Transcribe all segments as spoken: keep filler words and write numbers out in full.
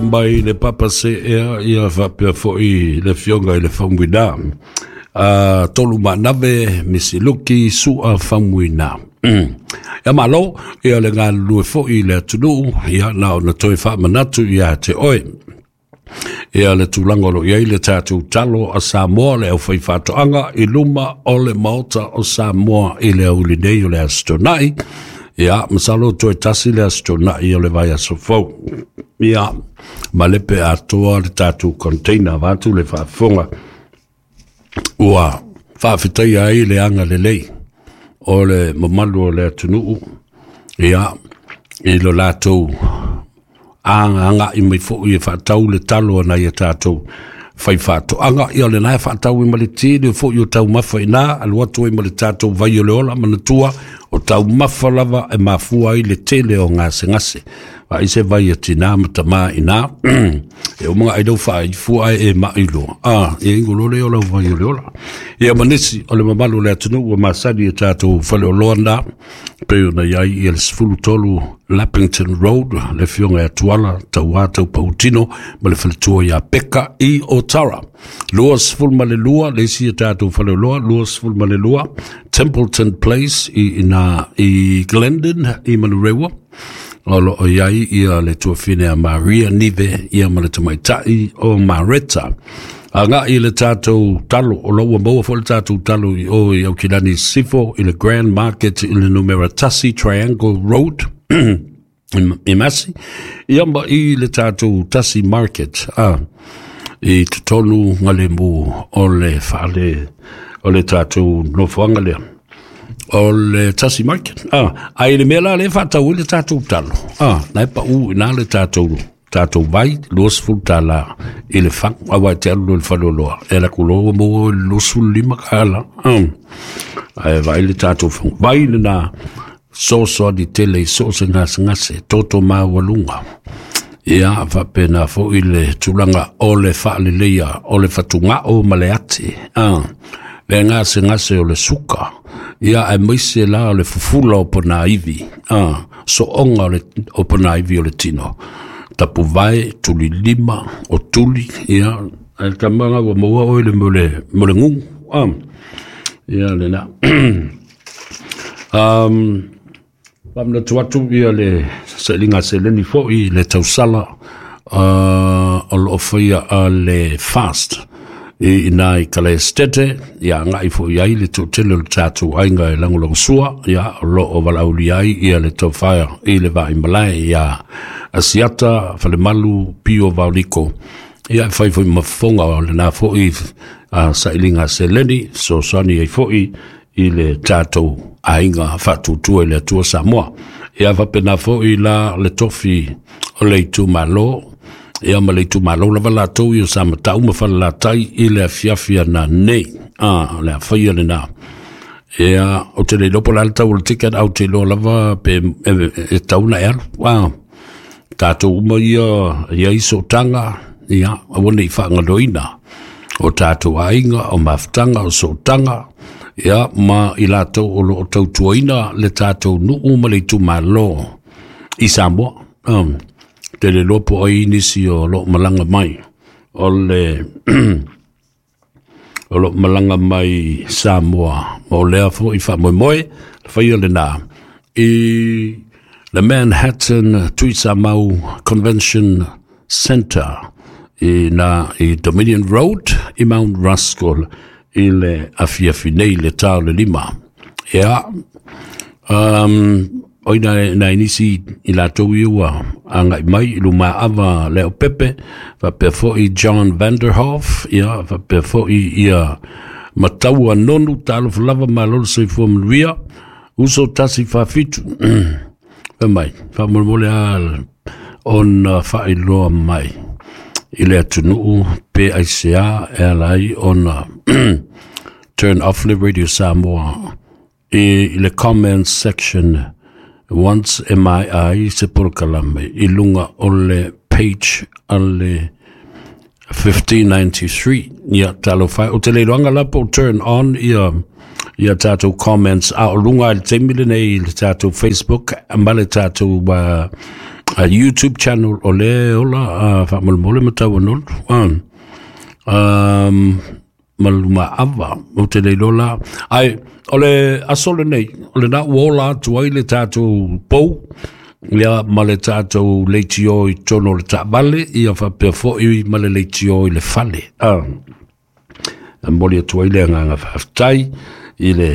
Mai le papa se ea ia faapea fo'i le Afioga i le Faumuina a tolu manave Misiluki Su'a Faumuina. Ia malo ia le galulue fo'i le atunuu. Ia na ona toe faamanatu ia te oe ia le tulaga o lo i ai le tatou talo a Samoa, le aufaifaatoaga i luma o le Maota o Samoa i le auli nei o le Aso Toonai. Ia, masalo toe tasi le Aso Toonai o le vaiaso fou. Ia, ma le pe atoa le tatou container vaeatu le faafofoga ua faafetaia ai le aga lelei o le mamalu o le atunuu, ia, i lo latou agaaga'i mai fo'i e faatau le talo a nai a tatou faifaatoaga. Ia o lena e faatau ai ma le tele fo'i o taumafa ina alu atu ai ma le tatou vai o le ola. Manatua o taumafa lava e mafua ai le tele o gasegase. Vaai se vai a tinā ma tamā ina e uma ai lau faaifua ae e mai loa a ia ingo le o lau vai o le ola. Ia ma nisi o le mamalu o le atunuu ua masani e tatou faleoloa na pei ona i ai ia le sefulu tolu Lappington Road, le afioga ia Tuala Tauā Taupautino ma le faletua ia Peka i Otara. Lua sefulu ma le lua le isi e tatou faleoloa, lua sefulu ma le lua Templeton Place i ina i Glendon i Manurewa o lo o i ai ia le tuafine a Maria Nive ia ma le tamaitai o Mareta. Agai le tatou talo o lo ua maua foi le tatou talo i o i Aukilani Sifo i le Grand Market i le numera tasi Triangle Road i Masi ia ma i le tatou tasi market a i totonu ngalemu o le fale o le tatou nofoaga lea o le tasi market. Ah, ai le mea la le faatau ai le tatou talo ah, na e pau ina le tatou tatou vai luasefulu tala i le fagu aua e te alu loa i le faleoloa e ala ku loa ua maua i le luasefulu lima tala ah. Ae vaai le tatou fagu vai lena soasoani tele i so o se gasegase toto maualuga. Ia faapena fo'i le tulaga o le faaleleia o le fatuga'o ma le ati ah. Le gasegase o le suka ia aemaise la o le fufula o ponaivi ah. So'oga o le o ponaivi o le tino tapuvae tulilima o tuli ia ae tamaga ua maua oe le mo le mo le gugu ah. Ia lena um, faamanatu atu ia le sailiga seleni fo'i le tausala uh, o loo faia a le fast i ina i Kalaestete ia agai fo'i ai le toatele o le tatou aiga e lagolagosua ia o loo valaaulia ai ia le taufaea i le vaaimalae ia Asiata Falemalu Pio Vaoliko ia e fai foi mafofoga o lena fo'i uh, sailiga seleni fesoasoani ai fo'i i le tatou aiga faatuatua i le Atua Samoa. Ia faapena fo'i la le tofi o le itumalo ia ma le itumalo lava latou ia sa matau ma falelatai i le afiafi ana nei ah, le afaia lena. Ia o te le iloa po o le a le tau o le ticket au te iloa lava pe e, e tau na e alu ah, tatou uma ia ia i sootaga ia aua nei faagaloina o tatou aiga o mafutaga o sootaga ia ma i latou o loo tautuaina le tatou nuu ma le itumalo i Samoa. Um, te le loa po ai nisi o loo malaga mai o le o loo malaga mai Samoa ma o lea fo'i faamoemoe le faia lena i le Manhattan Tuisamau Convention Center i na i Dominion Road i Mount Ruskell i le afiafi nei le tā o le lima. Ia, um, o ina na nisi i latou ia ua agai mai i lumaava Leo Pepe, faapea fo'i John Vanderhoff, ia faapea fo'i ia Mataua Nonu, talofa lava malo le soifua manuia, uso tasi faafitu. Fai mai, faamolemole a ona faailoa mai i le atunuu pe aisea e ala ai ona turn off le Radio Samoa i le comment section once e maea ai se polokalame i luga o le page a le fifteen ninety-three. Ia talofa o te le iloaga la po turn on ia ia tatou comments a o luga i le taimi lenei i le tatou Facebook ma le tatou uh, uh, YouTube channel o le ola uh, faamolemole ma tauanolu uh, um, maluma ava o te le lola ai o le aso lenei o le na ua ola atu ai le tatou pou ia ma le tatou leitio i totonu o le taavale ia faapea foi ma le leitio i le fale. Ah, momoli atu ai le agaga faafetai i le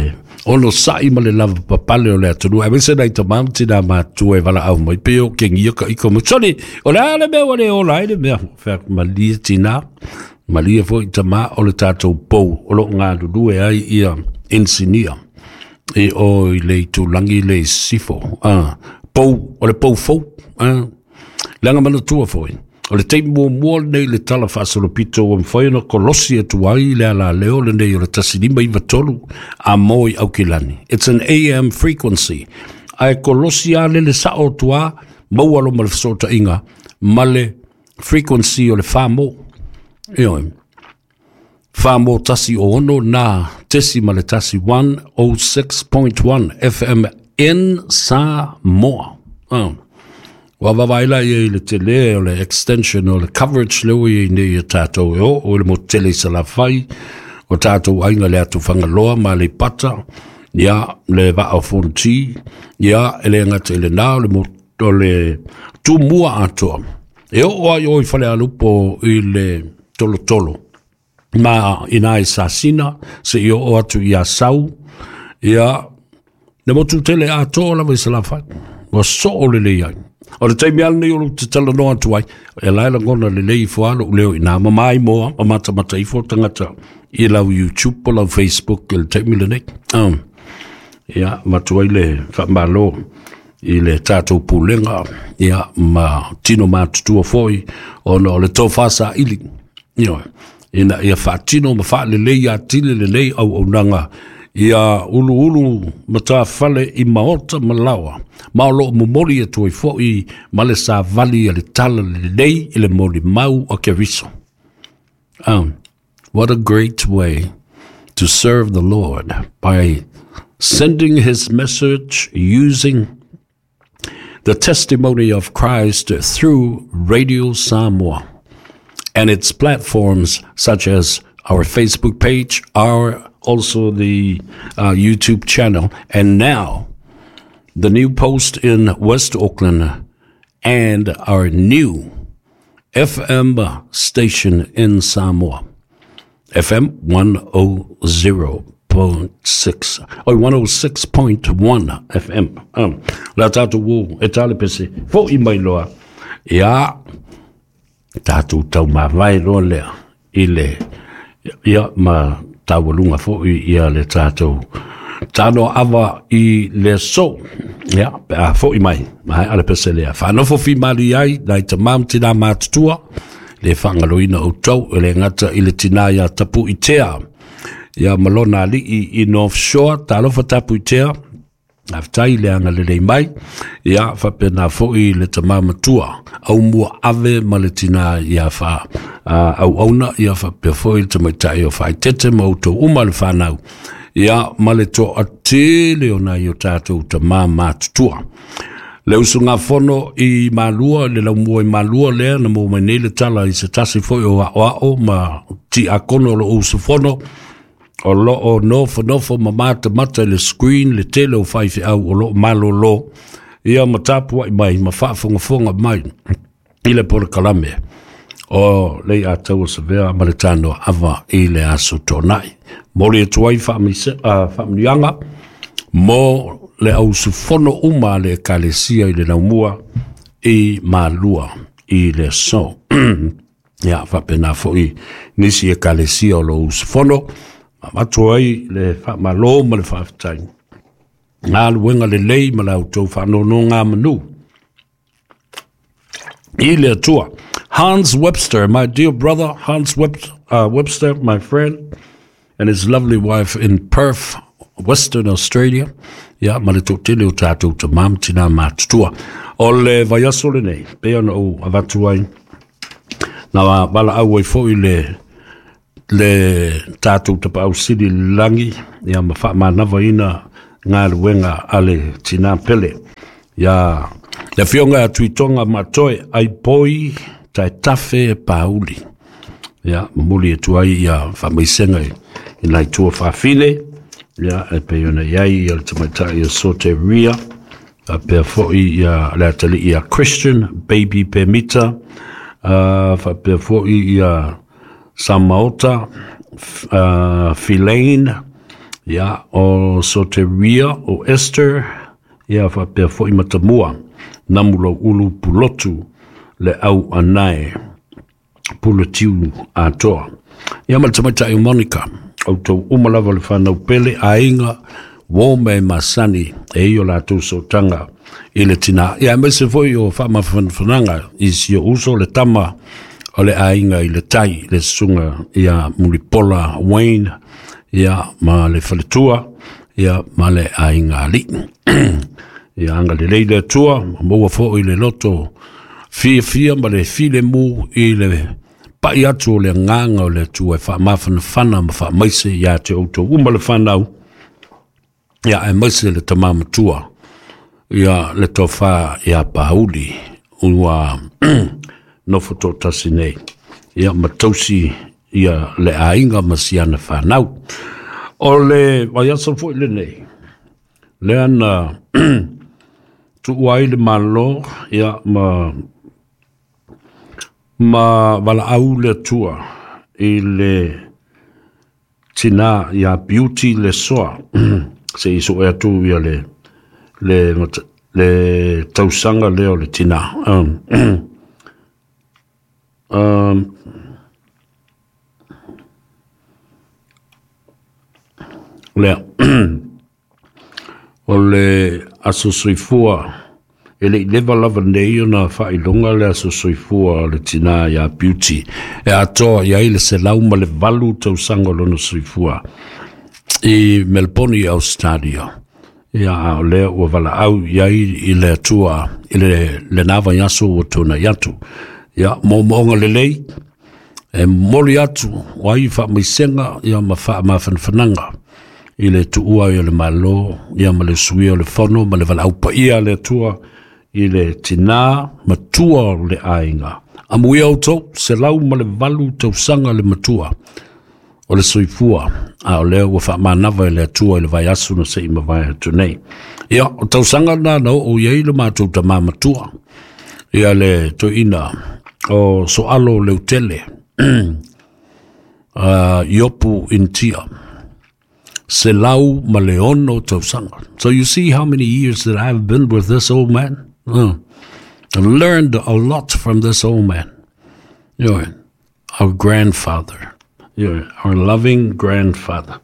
ono sa'i ma le lava papale o le atunuu aemaise nai tamā ma tinā matutua e valaau mai pe o kegia ka ika mai soli o le a le mea ua le ola ai le mea fea malie tinā malie foi tamā o le tatou pou o loo galulue ai ia insinia e o i le itulagi le sifo ah, pou o le pou fou ah, leaga manatua foi o le taimi muamua lenei le tala faasolopito ua mafai ona kolosi atu ai le alaleo lenei o le tasi lima iva tolu a mo i Aukilani. It's an A M frequency. Ae kolosi a lele sa'o atu a maua lo ma le fesootaiga ma le frequency o le whamo. Ioe. Whamo tasi o ono na tesi ma le tasi one oh six point one F M in Samoa. Oh. Ua vavaila ia i le tele o le extension o le coverage leo i nei e tātou e o, o le mo tele i salafai, o tātou ainga le atu whangaloa ma le pata, ia le vaa o fonti, ia ele ngata i le nā o le, mo, o le tūmua atoa. E o o ai o i whale alupo i le tolo tolo. Ma ina e sasina, se i o o atu i a sau, ia le motu tele atoa lava i salafai. Ua soo le lei ai. O le taimi ala nei o te tala noa atu ai, e lae langona le lei ifo alo leo i nā mamai moa, ma mata mata ifo tangata i lau YouTube o lau Facebook i le taimi le nei. Um, ia, matu ai le whaamalo i le tātou pulenga, ia, ma tino mātutua foi, ona o le tōwhasa ili. Ia, ina ia whaatino ma whaalelei a tile le nei au au nanga, ia ulu ulu matafale i maota malawa ma o loo momoli atu ai fo'i ma le savali a le tala lelei i le molimau o Keriso. Um, what a great way to serve the Lord by sending his message using the testimony of Christ through Radio Samoa and its platforms such as our Facebook page, our also the uh, YouTube channel, and now the new post in West Auckland and our new F M station in Samoa, F M one oh zero point six, or one oh six point one F M. Um, la tātou wō, e tāle pese, fo i mai loa, ia, tātou tau mawai loa lea, i le, ia, ma taualunga foi ia le tātou tāno awa i le so. Ia, pe a foi mai, mai ale pese lea. Whanofo fi mali ai, nai te mam tina mātutua, le whangaloina o tau, e le ngata i le tina ia tapu i tea. Ia malona alii i North Shore, tālofa tapu i tea, awtai le anga lelei mai, ia whapena foi le tamamatua, au mua ave ma le tina ia wha uh, au auna, ia whapea foi le tamaitai o whaitete ma uto uma le whanau, ia ma le toa tele o nai o tātou tamamatutua. Le usunga fono i Malua, le laumua i Malua lea, na mo mai nei le tala i se tasi foi o ao ao ma ti akono lo usufono, o loo nofo nofo ma mata mata le screen le tele o whaiwhi au o loo malolo ia ma tapu ai mai ma whaafongafonga mai i le polokalame o le atau o savea ma le tano ava i le aso tōnai. Mori atu ai whaamanuianga mo le ausufono uma le ekalesia i le laumua i Malua i le so. Ia whapena foi nisi ekalesia o lo usufono ma ai le whaamalo ma le whaafetai. Ngā luenga le lei ma lau tau whaanono ngā manu. I le atua. Hans Webster, my dear brother, Hans Webster, uh, Webster, my friend, and his lovely wife in Perth, Western Australia. Ia, ma le tōtele o tātou ta mam tina mātutua. O le vaiaso le nei, pea na o avatu ai. Nā wala au ai foi le le tātou tapau sili langi, ia ma whaamanawa ina ngā luenga ale tina pele. Ia, Le afioga ia Tuitoga Matoe Aipoi Taetafe Pauli. Ia, momoli atu ai ia faamaisega i nai tua faafine, ia, e pei ona i ai ia le tamaitai o Soteria, faapea foi ia le atalii ia Christian Baby Pemita, uh, faapea foi ia Samaota uh, Philaine, ia, o Soteria, o Esther, ia, faapea foi Matamua, Namulau Ulu Pulotu, le au anae, Pulatiu atoa. Ia ma le tamaitai o Monica, outou uma lava le whanau pele, aiga, uo me masani, e i o latou sootaga i le tinā. Ia, aemaise foi o faamafanafanaga i si o uso le tama o le aiga i le tai, le susuga ia Mulipola Wayne, ia ma le faletua, ia ma le aiga alii. Ia agalelei le Atua, maua foi le loto fiafia ma le filemu i le pai atu o le agaga o le Atua e faamafanafana ma faamaise ia te outou uma le whanau, ia aemaise le tamā matua, ia le tofa ia Pauli, ua nofo toatasi nei, ia ma tausi ia le aiga ma siana whanau. O le vaiaso foi lenei, lea na tuua ai le Malo, ia ma ma valaau le Atua i le tinā ia Beauty Lesoa, se i sue atu ia le le le tausaga lea o le tinā. Um, um, lea o le aso soifua e le i leva lava nei ona faailoga le aso soifua o le tinā ia Beauty e atoa i ai le selau ma le valu tausaga o lona soifua i Melbourne i Australia. Ia, a o lea ua valaau i ai i le Atua i le lena vaiaso ua tuanai atu. Ia, moomooga lelei e momoli atu o ai faamaisega ia ma faamafanafanaga i le tuua i o le Malo, ia ma le suia o le fono ma le valaau paia a le Atua i le tinā matua o le aiga. Amuia outou, selau ma le valu tausaga le matua o le soifua, a o lea ua faamanava e le Atua i le vaiaso na se i mavae atu nei. Ia, o tausaga na na oo i ai le matou tamā matua, ia le toeaina o Soalo Leutele, uh, Iopu Intia, selau ma le ono tausaga. So you see how many years that I've been with this old man? Uh, I've learned a lot from this old man. You know, our grandfather. You know, our loving grandfather.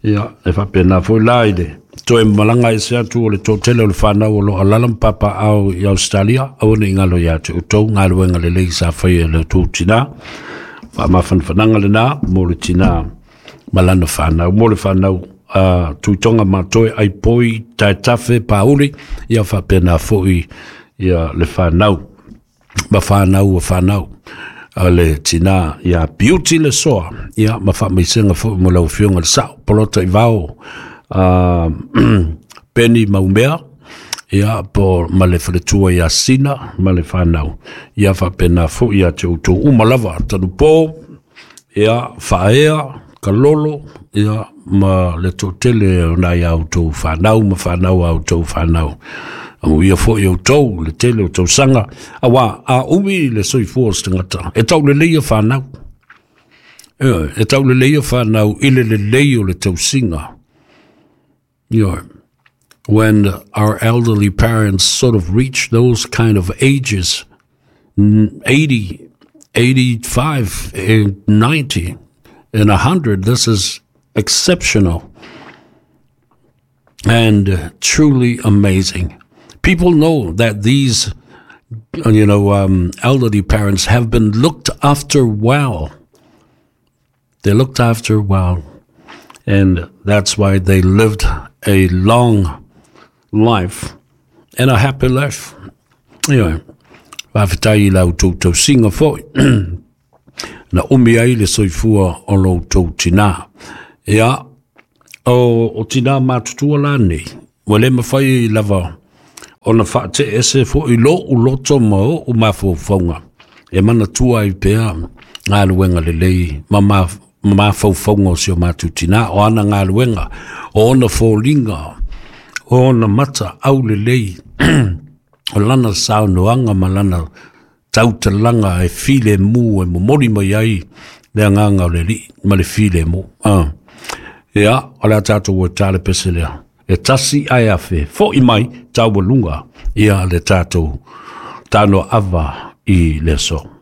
Ia, e faapena foi la i le toe malaga ese atu o le toatele o le whanau o lo alala ma papaao i Australia, aua ne i galo ia te outou galuega lelei sa faia e le outou tinā. Faamafanafanaga lenā mo le tinā ma lana whanau. Mo le whanau uh, Tuitoga Matoe Aipoi Taetafe Pauli, ia faapena foi ia le whanau ma whanau o whanau a le tinā ia Beauty Lesoa, ia ma faamaisega foi mo lau afioga le sao Polota i Vao, uh, Penny Maumea, ia po ma le faletua ia Sina ma le whanau, ia faapena foi ia te outou uma lava tanupo, ia Faea Kalolo, ia ma le toatele o nai a outou whanau ma whanau a outou whanau. Amuia foi outou le tele o tausaga, auā a umi le soifua o se tagata, e taulelei ia whanau. E taulelei ia whanau i le lelei o le tausiga. You know, when our elderly parents sort of reach those kind of ages, eighty, eighty-five, ninety, and a hundred, this is exceptional and truly amazing. People know that these, you know, um, elderly parents have been looked after well. They looked after well, and that's why they lived a long life and a happy life. Anyway, faafetai i la outou tausiga foi na umi ai le soifua o lo outou tinā. Ia, o, o tinā matutua la nei, ua le mafai lava Ona faate'e ese fo'i lo'u loto ma o'u mafaufauga e manatua ai pea galuega lelei ma ma mafaufauga o si o matou tinā, o ana galuega, o ona foliga, o ona mata aulelei, o lana saunoaga ma lana tautalaga e filemu e momoli mai ai le agaga o le Alii ma le filemu. Ah. Ia, o le a tatou ua tale pese lea. E tasi ae afe, fo'i mai taualuga ia le tatou tano ava i le aso.